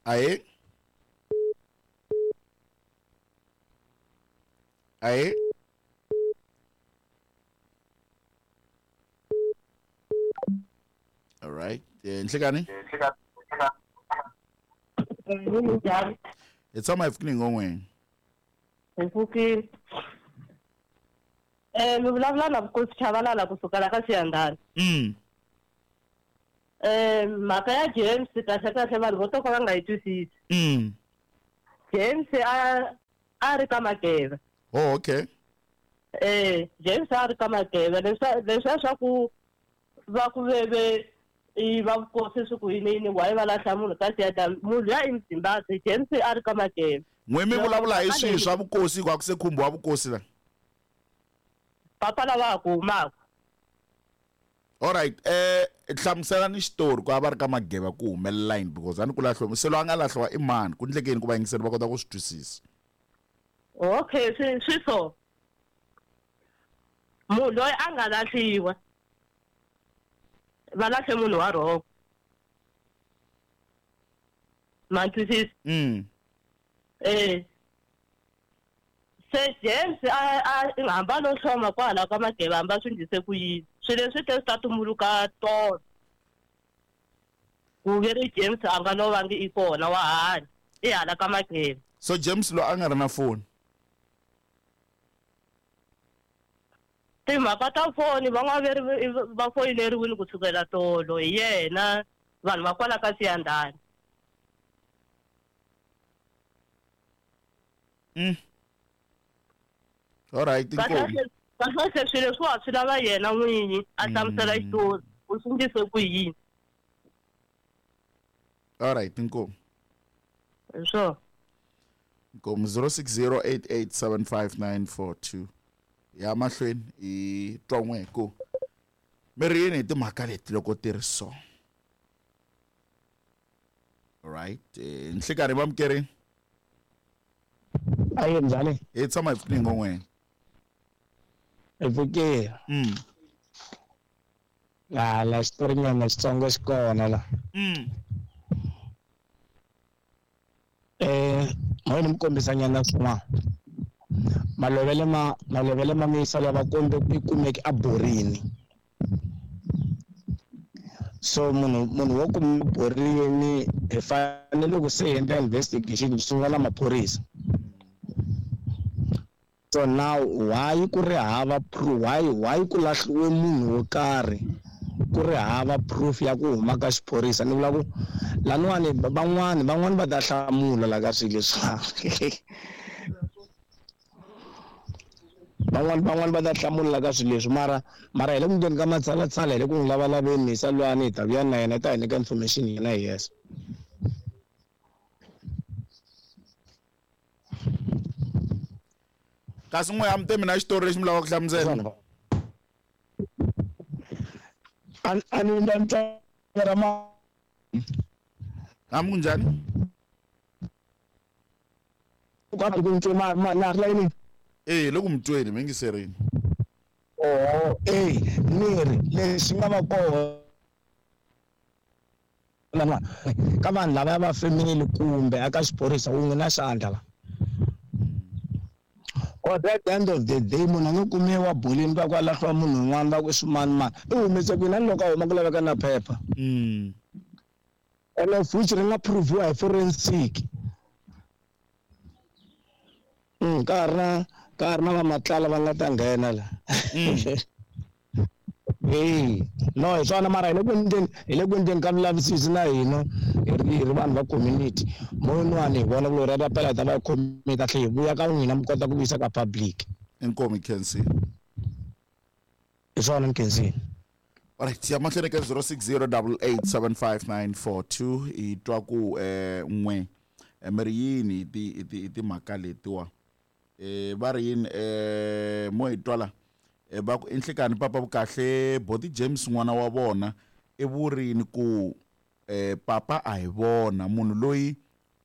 Ahee. Ahee. All right. Nhlekani. Njhani? Hi tshama hi pfukile ngomweni. Hi pfukile. Mi vulavula na Vukosi Chavalala kusuka la ka Siyandhani. Mhaka ya James kahle kahle vanhu vo to ka va nga yi twisisi. James a ri ka Mageva. Oh, okay. James a ri ka Mageva leswiya swa ku va ku veve i va vukosi swi ku yini yini why va lahla munhu ka Siyandhani, munhu luya i Muzimbabwe, James a ri ka Mageva. N'we mi Loko vulavula hi mhaka swihi leyi swa vukosi ku a ku se khumbiwa vukosi la? Papa lava ha ku humaka. Alright, hlamusela ni xitori ku a va ri ka Mageva ku humelela yini because a ni ku lahliwa se loyi a nga lahliwa i mani ku ndlekeni ku vayingiseri va kota ku swi twisisa. Okay, swi so. Munhu loyi a nga lahliwa va lahle munhu wa wrong. Ma twisisa? Se James a hamba no hloma kwala ka Mageva hamba swi ndlise ku yini. Swilo leswi te swi ta tumbuluka tolo. Ku ve ri James a nga lovangi i kona wa hanya i hala ka Mageva. So James lo a nga ri na foni. Timhaka ta foni van'wana ve ri va foyineriwile kusukela tolo hi yena vanhu va kwala ka Siyandhani. All right, inkomu. Kahle kahle swilo leswiwa swi lava yena n'winyi a hlamusela xitori u swi ndlise ku yini. All right, inkomu. Hi swona. Inkomu 0608875942. Ya mahlweni hi twa n'we ku mi ri yini hi timhaka leti loko ti ri so. All right, nhlikani va mukerini. Aye, njhani? Hi tshama hi pfukile ngomweni. Hi pfukile. Ah, la xitori nyana xitsongo xi kona la. Mo ni mi kombisa nyana swin'wana. Malovele ma, malovele ma miyisa lava kombe ku kumeke a borini. So munhu wo kuma borini hi fanele ku se endla investigation hi sungula na maphorisa. So now why ku ri hava proof, why ku lahliwe munhu wo karhi ku ri hava proof ya ku huma ka xiphorisa? Ni vula ku laniwani van'wani va ta hlamula la ka swilo leswi. Van'wani va ta hlamula ka swilo leswi, mara hi le ku endleni ka matshalatshala, hi le ku n'wi lavalaveni misa lwani, hi ta vuya na yena, hi ta hi nyika information yena hi yexe. Kasi n'we a mi te mina xitori lexi mi lavaka ku hlamusela? A ni endla ntsena ra ma- A mi ku njhani? Ku a ku ntwe ma, ma, na ri layinini? Eh, loko mi tweni, mi yingiserini. Oho, eh, ni ri, lexi nga va kona lama, ka vanhu lava va family kumbe aka xiphorisa wun'we na xandla la. Or at the end of the day, munhu a nga kumiwa bolini va ku a lahliwa munhu un'wana va ku i swimanimani. I humese kwini? A ni loko a huma ku laveka na phepha. And of which ri nga proviwa hi forensic. Ka ha ri na, ka ha ri na va Matlala va nga ta nghena la. Hey, no, hi swona mara hi le ku endleni, hi le ku endleni ka vulavisisi na hina hi ri vanhu va community. Moyinwani hi vona ku loko ra pela hi ta va hi khomile kahle, hi vuya ka n'wina mi kota ku vuyisa ka public. Inkomu Khensi. Hi swona Khensi. All right, ya mahlweni ka zero six zero double eight seven five nine four two hi twa ku n'we mi ri yini hi ti, hi ti, hi timhaka letiwa. Va ri yini mo hi twa la? Va ku i nhlikani papa vukahle Boti James n'wana wa vona i vurini ku papa a hi vona munhu loyi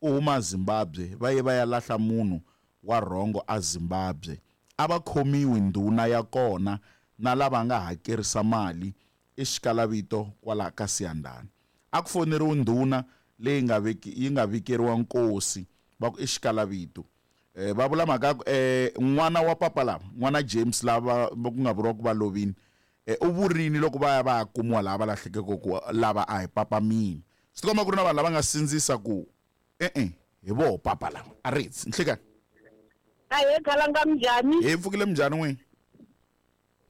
u huma Zimbabwe va ye va ya lahla munhu wa rhongo a Zimbabwe a va khomiwi ndhuna ya kona na lava nga hakerisa mali i xikalavito kwala ka Siyandhani a ku foneriwi ndhuna leyi nga veki yi nga vikeriwa nkosi va ku i xikalavito. Va vula mhaka ku n'wana wa papa lava n'wana James lava ku nga vuriwa ku va lovini u vurini loko va ya va ya kumiwa laha va lahlekeke ku lava a hi papa mina. Swi tikomba ku ri na vanhu lava nga sindzisa ku e-e hi voho papa lava a ritsi nhlekani. Ahee khalanga minjhani? Hi pfukile minjhani n'wini?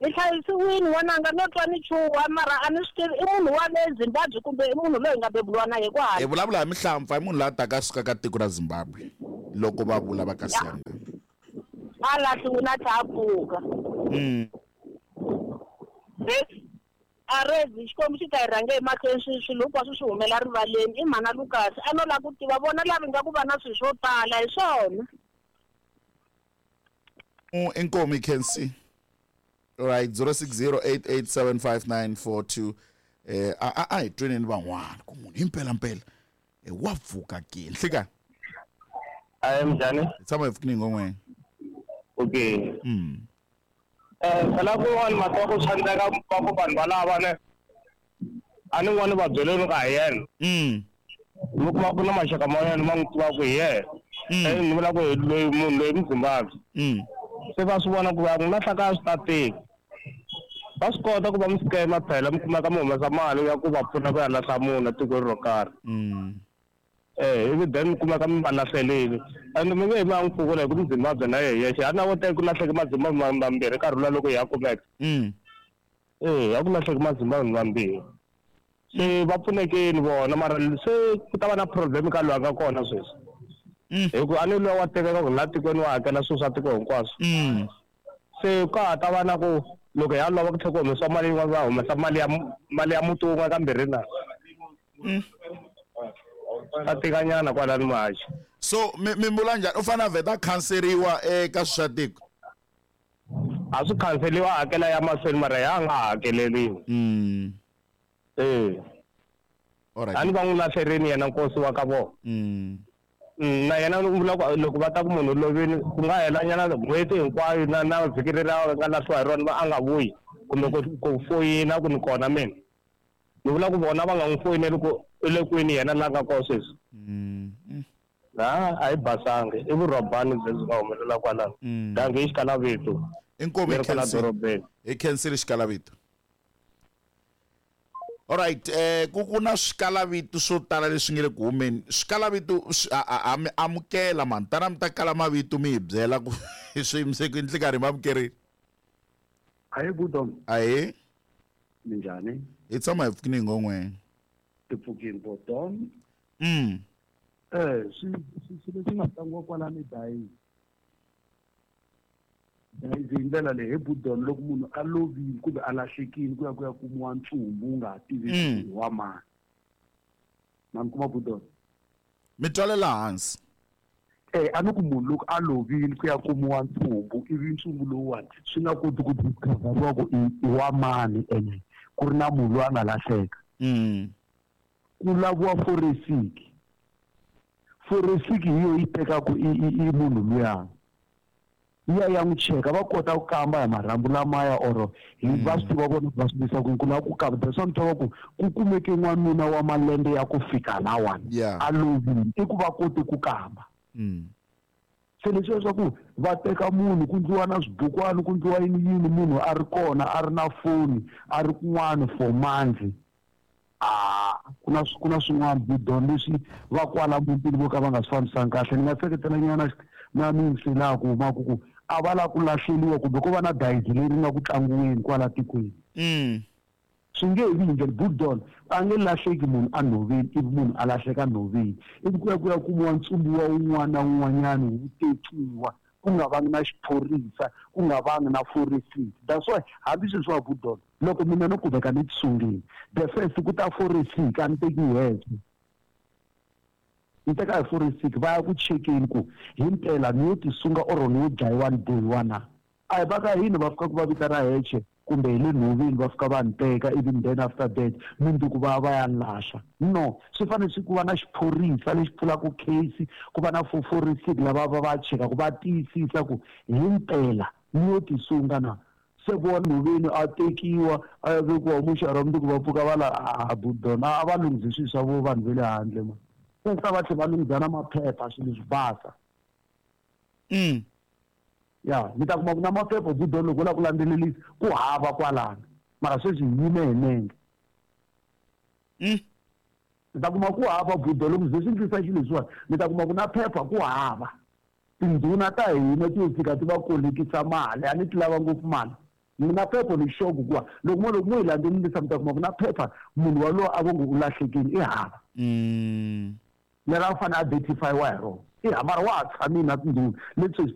Ni hlayisiwini n'wananga no twa ni chuha mara a ni swi tivi i munhu wa le Zimbabwe kumbe i munhu loyi hi nga bebuliwa na ye kwala. Hi vulavula hi mihlampfa i munhu loyi a taka a suka ka tiko ra Zimbabwe loko va vula va ka Siyanda. A lahliwini a tlha a pfuka. A rezi Xikwembu xi ta hi rhange emahlweni swi swilo hinkwaswo swi humela rivaleni i mhana Lucas a no lava ku tiva vona lava nga ku va na swilo swo tala hi swona. Inkomu Kensi. Right 0608875942 a hi tweneni van'wana ku munhu himpela mpela wa pfuka ke nhlekani. Ayi minjhani? Hi tshama hi pfukini ngomweni. Okay. Phela kun'wana mhaka ya ku swi endleka va ku vanhu valava ne a ni n'wana va byeleni ka hi yena. Mi kuma ku na maxaka ma yena ma n'wi tivaka hi yena. Ni vula ku hi loyi munhu loyi Muzimbabwe. Se va swi vona ku va n'wi lahla ka swi ta tika. Va swi kota ku va mi scam phela mi kumeka mi humesa mali ya ku va pfuna ku ya lahla munhu etikweni ro karhi. Ivi then mi kumeka mi va lahlelile. And mi nge he mi ya n'wi pfukula hi ku Muzimbabwe na yehe yexe. A na vo teka ku lahleke Mazimbabwe mambirhi nkarhi luwa loko hi ya kumeka. Ya ku lahleke Mazimbabwe mambirhi. Se va pfunekeni vona mara se ku ta va na problem ka loyi a nga kona sweswi. Hi ku a ni luya wa tiveka ku laha tikweni wa hakela swilo swa tiko hinkwaswo. Se ka ha ta va na ku loko ya lova ku tlhela ku humesiwa mali yin'wana va humesa mali ya mali ya muti wun'we kambirhi na. Ta tikanyana kwalani Mahachi. So mi vula njhani u fanele a vheta a khanseriwa eka swi swa tiko? A swi khanseriwa a hakela ya mahlweni mara ya nga hakeleriwi. Alright. A ni va n'wi lahlerini yena nkosi wa ka vona. Na yena u vula ku loko va ta ku munhu lovini ku nga hela nyana n'hweti hinkwayo na na vhiki leri a nga lahliwa hi rona va a nga vuyi kumbe ku ku foyina ku ni kona mina. Ni vula ku vona va nga n'wi foyineli ku i le kwini yena la nga kona sweswi. A hi basanga i vurhobani lebyi nga humelela kwalano. Dangi i xikalavito. Inkomu Leri kwala dorobeni. Hi khensile xikalavito. Alright, ku na swikalavito swo tala leswi nge le ku humeni. Swikalavito a mi amukela mani, tana mi ta kala mavito mi hi byela ku swi yimise ku yini nkarhi mi amukerile. Ahee Budom. Ahee. Minjhani? Hi tshama hi pfukini ngomweni. Ti pfukini Budom. Swi leswi nga tlangiwa kwalani dayi. Dayi hi ndlela leyi he Budom loko munhu a lovile kumbe a lahlekile ku ya ku ya kumiwa ntsumbu wu nga ha tiveki wa mani. Ma ni kuma Budom? Mi twalela hansi. A ni ku munhu loko a lovile ku ya kumiwa ntsumbu ivi ntsumbu lowuwani swi nga koti ku discoveriwa ku i wa mani ene ku ri na munhu loyi a nga lahleka. Ku laviwa forensic. Forensic hi yo yi tekaka i munhu luya. Ya ya n'wi cheka va kota ku kamba hi marhambu lamaya or hi va swi tiva vona va swi visa ku ku lava ku kamba. That's why mi twa va ku ku kumeke n'wanuna wa malembe ya ku fika lawani a lovile i ku va kote ku kamba. Se leswi leswaku va teka munhu ku ndliwa na swibukwani ku ndliwa yini yini munhu a ri kona a ri na foni a ri kun'wana for months. Ku na swin'wana Budom leswi va kwala mutini vo ka va nga swi fambisanga kahle. Ni nga seketela nyana na mintsi laha ku humaka ku a va lava ku lahleliwa kumbe ko va na dayizi leri nga ku tlangiweni kwala tikweni. Swi nge vi hi ndlela Budom a nge lahleki munhu a nhoveni ivi munhu a lahleka nhoveni ivi ku ya ku ya kumiwa ntsumbu wa wun'wana na wun'wanyana wu tekiwa ku nga vangi na xiphorisa ku nga vangi na forensic. That's why hambi sweswi wa Budom loko mina no kumeka ni tisungile the first ku ta forensic a ni teki hexe. Ni teka hi forensic va ya ku chekeni ku himpela ni yo tisunga or ni yo dlayiwa ni bohiwa na. A hi va ka hina va fika ku va vita ra hexe kumbe hi le nhoveni va fika va ni teka ivi then after that mundzuku va va ya lahla. No, swi fanele swi ku va na xiphorisa lexi pfulaka case ku va na forensic lava va va chekaka va tiyisisa ku himpela ni yo tisunga na. Se vona nhoveni a tekiwa a ya vekiwa muxara mundzuku va pfuka va la a Budom a va lunghisi swilo swa vo vanhu va le handle ma. Se va tlhe va lunghisa na maphepha swilo swi basa. Ya mi ta kuma ku na maphepha budo loko u lava ku landzelelisa ku hava kwalano, mara sweswi hi yime hi nenge. Mi ta kuma ku hava budo loko ze swi ndlisa xilo leswiwani, mi ta kuma ku na phepha ku hava. Tindhuna ta hina ti yo fika ti va kolekisa mali, a ni ti lava ngopfu mali. Mina phepha ni sure ku kuwa loko mo loko mo yi landzelelisa mi ta kuma ku na phepha munhu walowo a vo ngo u lahlekile i hava. Leri a fanele a identify-iwa hi rona i hava, mara wa ha tshamile na tindhuna leti sweswi.